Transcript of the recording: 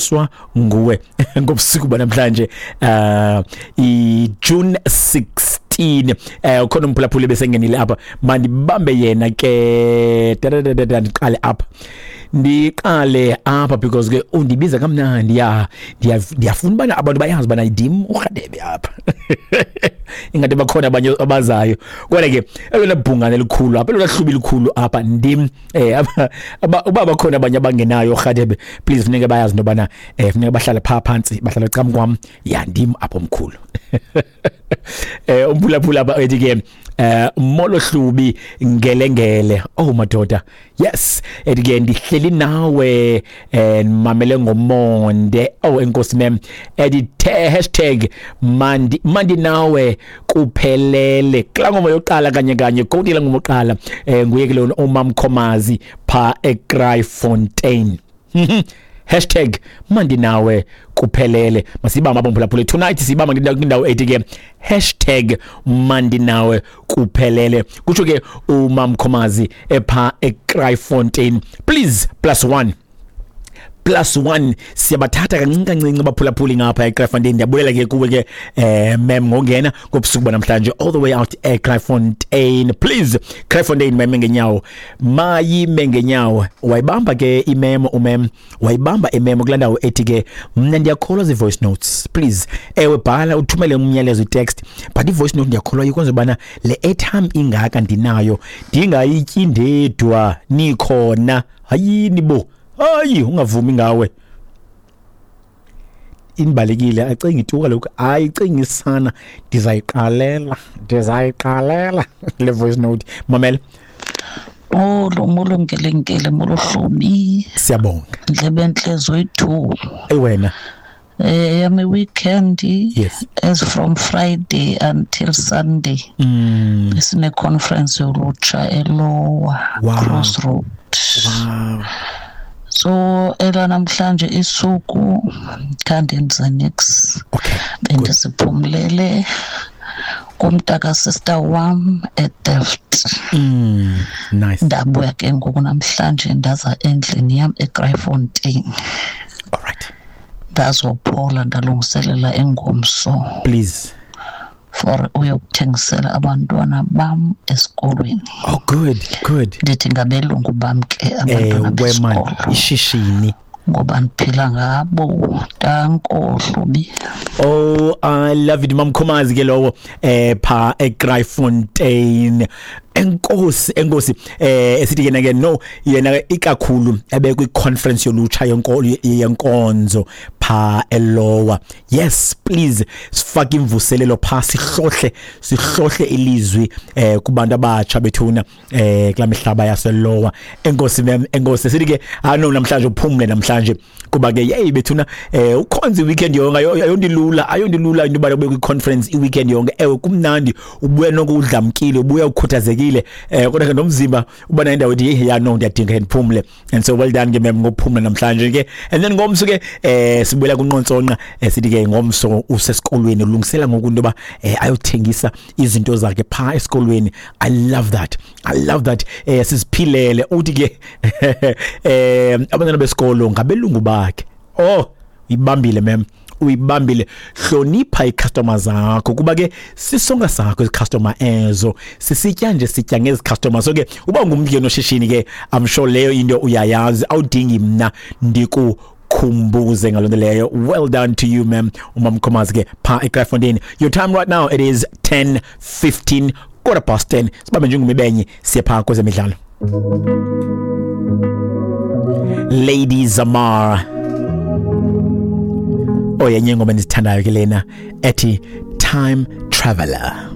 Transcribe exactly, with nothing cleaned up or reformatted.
Swa nguwe ngobusuku banamhlanje uh i June sixteen. Eh ukhona umphulaphuli besengenile apha, mandibambe yena ke, ndiqale apha ndiqale apha because ke undibiza kamnandi, ya ndiyafuna bana abantu bayazi bana ndim uRhadebe apha, ingathi bakhona abanye abazayo. Kodwa ke elona bhungane elikhulu apha, elona hlubi likhulu apha ndim. Eh uba bakhona abanye abangenayo uRhadebe, please funeke bayazi into bana eh funeke bahlale pha phansi, bahlale cam kwam, ya ndim apho omkhulu. Eh umphulaphula apha ethi ke eh molo Hlubi ngelengele, oh madoda, yes, ethi ke ndihleli nawe eh mamele ngomonde. Oh enkosi mem, ethi hashtag mandi mandi nawe kuphelele. Kula ngoma yokuqala kanye kanye koti la ngoma yokuqala eh nguye ke lona uMamkhomazi pha eKraaifontein. Hashtag mandi nawe kuphelele. Masibamba abomphulaphula tonight, sibamba kwindawo ethi ke hashtag mandi nawe kuphelele. Kutsho ke uMamkhomazi epha eKraaifontein. Please plus one plus one siyabathatha kancinci kancinci abaphulaphuli ngapha eKraaifontein. Ndiyabulela ke kuwe ke eh mem ngongena ngobusuku banamhlanje all the way out eKraaifontein. Please Kraaifontein mayime ngenyawo, mayime ngenyawo. Wayibamba ke imemo umem, wayibamba imemo kulaa ndawo ethi ke mna ndiyakholwa zi-voice notes. Please ewe bhala uthumele umyalezo i-text, but i-voice note ndiyakholwa ikwenza ubana le airtime ingaka ndinayo ndingayityi ndedwa, nikhona. Hayini bo, hayi ungavumi ngawe, imbalekile acinga ituka lokhu, ayicingisana, ndizayiqalela ndizayiqalela le voice note. Mamela. Molo molo ngelengele, molo Hlubi. Siyabonga. Ndlebe entle zoyi-two. Ey wena. Eh yami weekend. Yes. As from Friday until Sunday. Mm. Sine conference yolutsha eLower wow. Crossroad. Wow. So ela namhlanje isuku khandenze nix. Okay. Bendisiphumlele kumntaka sister wam eDelft. Mm, nice. Ndabuya ke ngoku namhlanje ndaza endlini yam eKraaifontein. All right. Ndazophola ndalungiselela engomso. Please. For uyokuthengisela abantwana bam esikolweni. Oh good, good. Ndithi ngabelungu bam ke abantwana besikolo. Ishishini. Ngoba ndiphila ngabo. Danko Hlubi. Oh I love it Mamkhomazi ke lowo eh pha eKraaifontein. Enkosi enkosi eh esithi yena ke no yena ikakhulu ebekwi conference yolutsha yenkolo yenkonzo pha eLower. Yes please sifake imvuselelo pha, sihlohle sihlohle ilizwi eh kubantu abatsha bethuna eh kula mihlaba yaseLower. Enkosi mem, enkosi sithi ke ano namhlanje uphumle namhlanje kuba ke hey bethuna eh ukhonza weekend yonke ayondilula ayondilula into ba kwi conference i weekend yonke. Ewe kumnandi ubuya nokudlamkile, ubuya ukhuthazekile eh kodwa ke nomzimba uba na indawo ethi ya no ndiyadinga ndiphumle. And so well done ke mem ngokuphumla namhlanje ke. And then ngomso ke eh sibuyela kunqontsonqa, sithi ke ngomso usesikolweni ulungisela ngoku into ba ayothengisa izinto zakhe pha esikolweni. I love that, I love that. Eh siziphilele uthi ke eh abantwana besikolo ngabelungu bakhe. Oh ibambile mem, uyibambile. Hlonipha icustomer zakho kuba ke sisonga sakho icustomer ezo sisitya nje sitya ngezi customer. So ke uba ungumntu ke noshishini ke I'm sure leyo into uyayazi, awudingi mna ndikukhumbuze ngaloo nto leyo. Well done to you ma'am, uMamkhomazi ke pha eKraaifontein. Your time right now it is ten fifteen, quarter past ten. Sibambe njengomibenye siye pha kwezemidlalo. Lady Zamar, oyenye ingoma endizithandayo ke lena ethi Time Traveler.